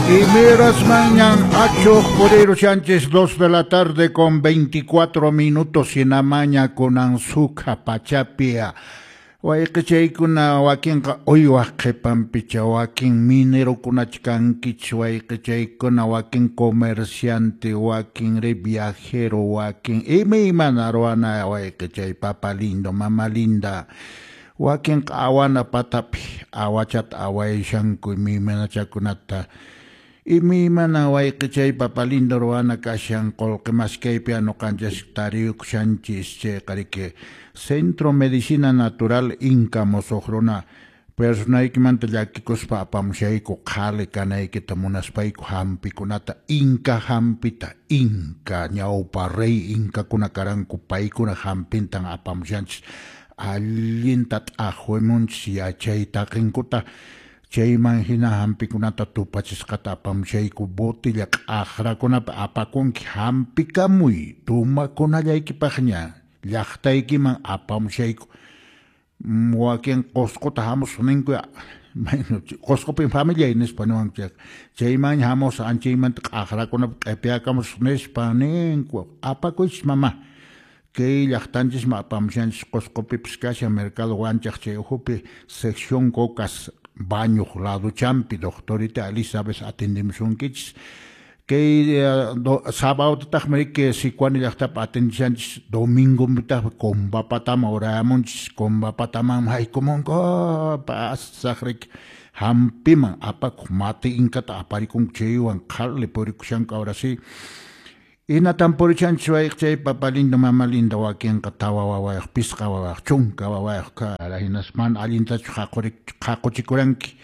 Y miras mañan achuq purirushanchis 2 de la tarde con 24 minutos hinamaña kunan sukha pachapia. Wayqichaykuna wakinqa uywaq qhipanpicha, wakin minerokunach kankichis wayqichaykuna, wakin comerciante, wakin ri viajero, wakin imaymana ruwana wayqichay, papa lindo, mama linda. Wakinqa awana patapi awachata awayashanku imaymanachakunata. Imaymana wayqichay, papa lindo, ruwana kashan qullqi maskaypi ñuqanchis tariyukushanchis. Chayqa riki Centro Medicina Natural Inca musuq runa personaykimanta llakikuspa apamushayku qhali kanaykita munaspayku hampikunata, Inca hampita, Inca ñawpa rey Incakuna karanku paykuna hampintan apamushanchis, allinta t'aqwimunchis yachay taqinkuta. Chayman hina hampikunata tupachisqata apamushayku botella q'aqrakunapi apakunki hampikamuy tumakunallaykipaqña llaqtaykiman apamushayku. Wakin Qusquta hamusaq ninku, Qusqupin familiay nispa niwanku chayqa, chaymanña hamusaq anchaymanta q'aqrakunapi q'ipiyakamusaq nispa ninku. Apakuychis mama, kay llaqtanchisman apamushanchis. Qusqupipis kashan mercado Wanchaq chay ukhupi sección Cocas bañuq laduchampi doctorita Elizabeth atendimusunkichis. Kay sabadotataqmi riki Sicuani llaqtapi atendishanchis, domingopitaqmi Combapataman urayamunchis, Combapataman haykumunku pasaq riki hampiman apakuq mati inkata aparikunku chaywan qhali purikushanku ahora sí. Hinatan purichanchis wayqichay, papa lindo, mama linda. Wakinqa tawa wawayuq, pisqa wawayuq, chunka wawayuq kara, hinaspa mana allintachu qhaquchikuranki,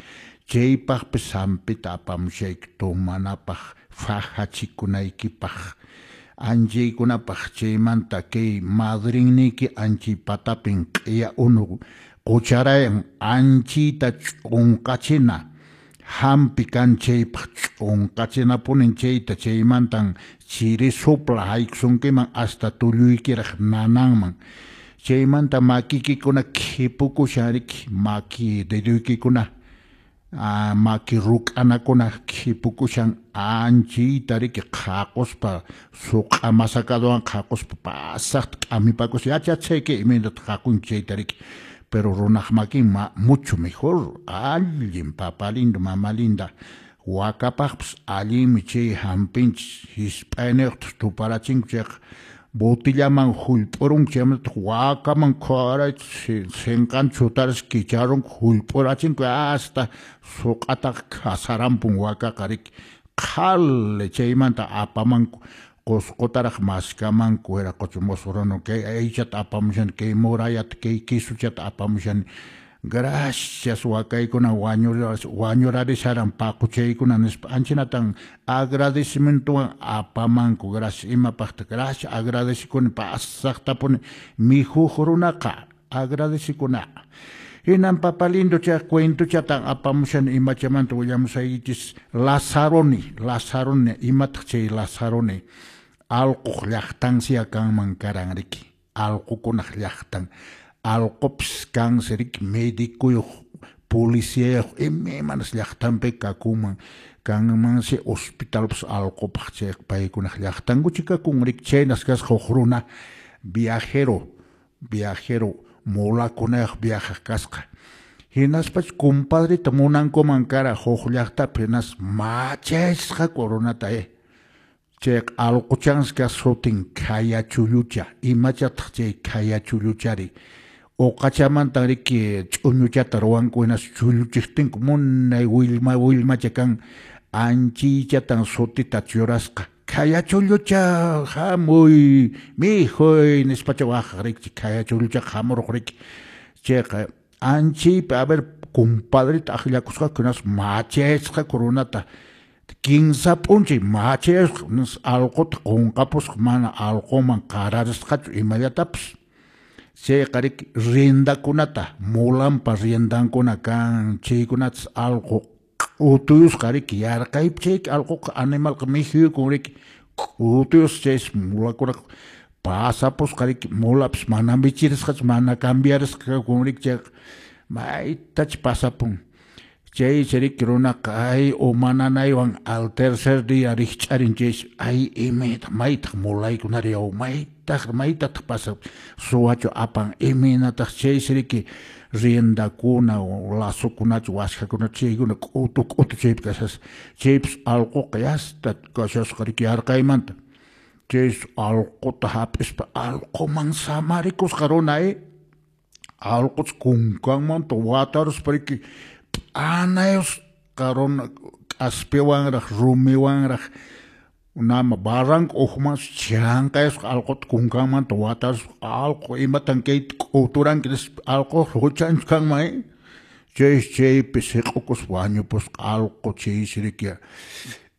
chaypaqpis hampita apamushayki tumanapaq, fajachikunaykipaq, anchaykunapaq. Chaymanta kay madrinniyki anchay patapin q'iya unu qucharayan, anchayta ch'unqachina hampi kan chaypaq, ch'unqachinapunin chayta. Chaymantan chiri sopla haykusunkiman hasta tulluykiraq nananman. Chaymanta makikikuna khipukushan riki, maki deduykikuna, maki ruk'anakuna khipukushan anchayta riki qhaquspa suq'a masakaduwan qhaquspa pasaqta k'amipakuspa yachachayki imaynata qhaqunki chayta riki. Pero runaq makin mucho mejor, allin papa lindo, mama linda. Wakapaqpas allinmi chay hampinchis, hisp'ayniyuqtaq tuparachinku chayqa botillaman hullp'urunku, chaymantataq wakaman qhawarayta sinqanta chutarispa kicharunku, hullp'urachinku hasta suq'ataqa khasarampun wakaqa riki qhali. Chaymanta apamanku Qusqutaraq maskamanku, wiraqocha musuq runa kay aychata apamushani, kay murayata, kay quisuchata apamushani, gracias wakaykuna wañurarisharan paquchaykuna nispa anchinatan agradecimientowan apamanku. Gracias, imapaqta gracias agradecikuni pasaqtapuni mikhuq runaqa agradecikuna. Hinan papa lindo chay cuentochatan apamushani imachamanta willamusaykichis. Lazaroni, Lazaroni, imataq chay Lazaroni? Allquq llaqtansiya kanman karan riki, allqukunaq llaqtan. Allqupis kansi riki medicuyuq, policiyayuq, imaymanas llaqtanpi kakunman, kanmansi hospitalpas allqupaq chay paykunaq llaqtankuchi kakun riki. Chaynas kasqa huk runa viajero, viajero mulakunayuq viajaq kasqa. Hinaspacha compadreta munankuman kara huk llaqtapi, hinas machasqaku runata. Chayqa allquchansi kasqa sutin Khayachullucha. Imachataq chay Khayachulluchari? Uqachamantan riki ch'uñuchata ruwanku, hinas chulluchiqtinku munay willma willmacha kan, anchaychatan sutita churasqa. Khayachullucha hamuy mikhuy nispacha waqaq riki, Khayachulluchaqa hamuraq riki. Chayqa anchaypi a ver compadreta akllakusqaku, hinas machasqaku runata. Kinsa p'unchay machayasqa, allquta qunqapusqa, mana allquman qararisqachu imallatapis. Chayqa riki riendakunata, mulanpa riendankuna kan, chaykunatas allqu utuyusqa riki yarqaypi chayki allquqa animalqa mikhuyukun riki, utuyusqa chaysi mulakunaqa pasapusqa riki, mulapis mana michirisqachu, mana cambiarisqa kakun riki, chayqa maytacha pasapun. Chaysi riki runaqa ay uma nanaywan al tercer día rikch'arin chaysi ay imaytaq maytaq mulaykunari yaw maytaq maytataq pasan suwachu apan imaynataq chaysi riki riendakuna lazokunachu waskhakunachu chaykuna k'utu k'utu chaypi kashasqa chaypis allquqa yasta kashasqa riki yarqaymanta chaysi allquta hap'ispa allquman samarikusqa runa allqucha kunkanmanta wataruspa riki p'anayusqa runa k'aspiwanraq rumiwanraq nama barranco ukhumansi chanqayusqa allquta kunkanmanta wataruspa allqu imatan kayta k'uturanki nispa allquqa huchanchu kanman chaysi chaypi siq'ukuspa wañupusqa allqu chaysi riki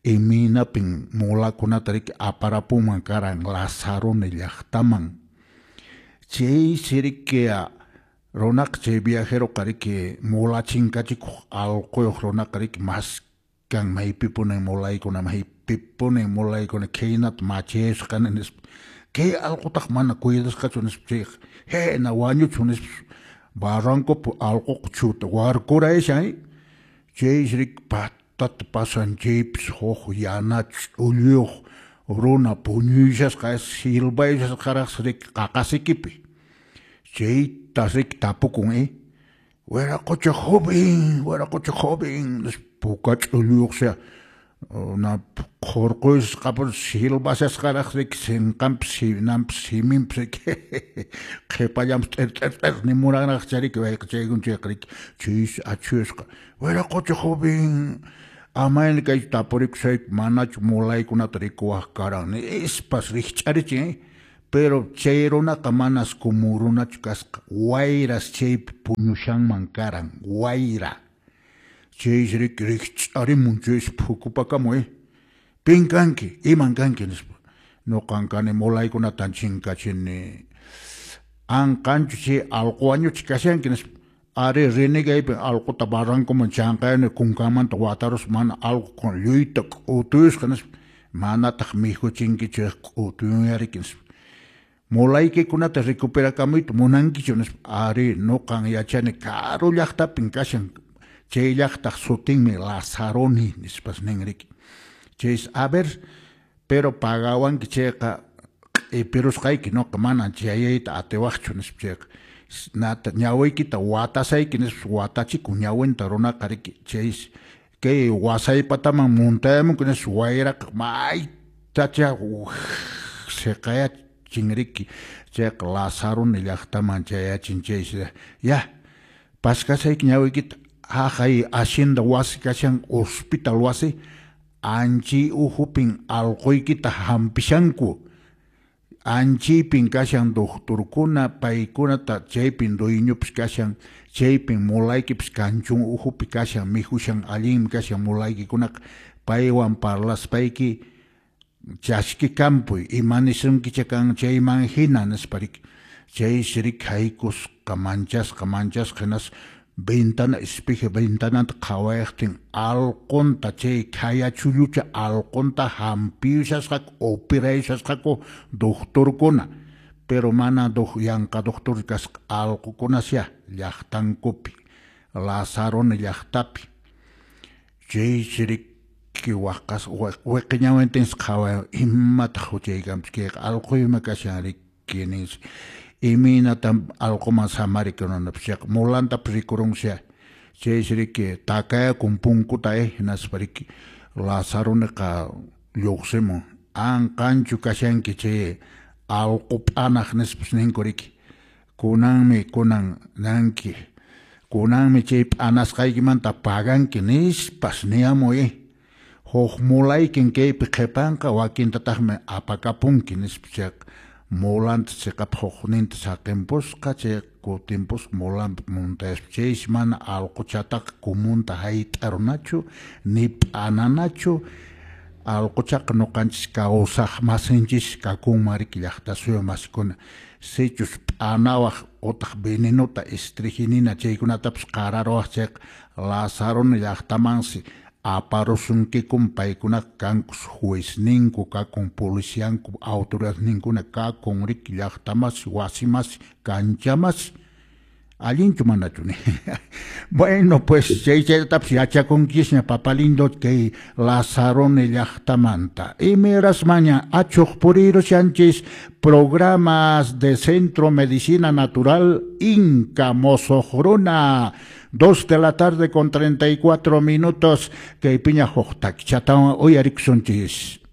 imaynapin mulakunata riki aparapunman karan Lazaroni llaqtaman chaysi riki runaqa chay viajeroqa riki mula chinkachikuq allquyuq runaqa riki maskan maypipunin mulaykuna maypipunin mulaykuna khaynata machayasqani nispa kay allqutaq mana cuidasqachu nispa chayqa hina wañuchun nispa barrancopi allquqa chuta warkurayashan chaysi riki patata pasan chaypis huk yana ch'ulluyuq runa puñuyshasqa silbayshasqaraqsi riki qaqasikipi chaytas riki tapukun wiraqocha joven wiraqocha joven nispa puka ch'ulluyuqsi na qhurquyusqapas silbashasqaraq riki sinqanpis sinanpis siminpis riki qhipallanpis t'ir t'ir t'ir nimuranraqcha riki wayqa chaykuna chayqa riki chaysi achhuyasqa wiraqocha joven amayna kaychu tapurikusayku manachu mulaykunata rikuwaq karan nispas rikch'arichin pero chay runaqa manas común runachu kasqa wayras chaypi puñushanman karan wayra chaysi riki rikch'arimun chaysi phukupakamun pin kanki iman kanki nispa nuqan kani mulaykunatan chinkachini anqanchu chay allqu wañuchi kashanki nispa ari renegaypin allquta barrancoman chanqayani kunkanmanta wataruspa mana allqu lluyta k'utuyusqa nispa manataq mikhuchinkichu k'utuyunyariki nispa mulaykikunata recuperakamuyta munankichu nispa ari nuqan yachani karu llaqtapin kashan chay llaqtaq sutinmi Lazaroni nispas nin riki chaysi a ver pero pagawanki chayqa q'ipirusqayki nuqa manan chayayta atiwaqchu nispa chayqa nata ñawiykita watasayki nispa watachikun ñawinta runaqa riki chaysi kay wasaypataman muntayamunki nispa wayraqa maytacha siqayachin riki chayqa Lazaroni llaqtaman chayachin chaysi ya paskasayki ñawiykita haqay hacienda wasi kashan hospital wasi anchiy ukhupin allquykita hampishanku anchiypin kashan doctorkuna paykunata chaypin dueñopis kashan chaypin mulaykipis kanchun ukhupi kashan mikhushan allinmi kashan mulaykikunaqa paywan parlaspayki chaskikampuy ima nisunkicha kan chayman hina nispa riki chaysi riki haykusqa manchasqa manchasqa hinaspa ventana espejo ventananta qhawayaqtin allqunta chay khayachullucha allqunta hampiyushasqaku operayushasqaku doctorkuna pero mana yanqa doctor kasqa allqukunasya llaqtankupi Lazaroni llaqtapi chaysi riki waqas wiqi ñawintinsi qhawayan imataq huchay kanpis kayqa allquymi kashan riki ninsi imaynatan allquman samarikunapas chayqa mulantapas rikurunsi chaysi riki takayakun punkuta hinaspa riki Lazaroniqa lluqsimun anqanchu kashanki chay allqu p'anaq nispas ninku riki kunanmi kunan nanki kunanmi chay p'anasqaykimanta paganki nispas niyamuy huk mulaykin kaypi qhipanqa wakintataqmi apakapunki nispa chayqa mulanta chiqap hukninta saqinpusqa chay kutimpusqa mulanpi muntayaspa chaysi mana allquchataqa comunta hayt'arunachu ni p'ananachu allquchaqa nuqanchis kawsaq masinchis kakunman riki llaqta suyu masikuna sichus p'anawaq utaq venenota estricnina chaykunatapas qararuwaq chayqa Lazaroni llaqtamansi aparusunkikum paykunaqa kankus juezninku kakun policianku autoridadninkuna kakun riki llaqtamasi wasimasi kanchamasi Allinchu manachu ni. Bueno, pues chay chaytapas yachakunkisña, papalindo, kay Lazarone llaqtamanta. Imirasmaña achuq purirushanchis programas de Centro Medicina Natural Inca Mosoqruna. 2 de la tarde con 34 minutos. Kay piña huk takichatawan uyarikusunchis.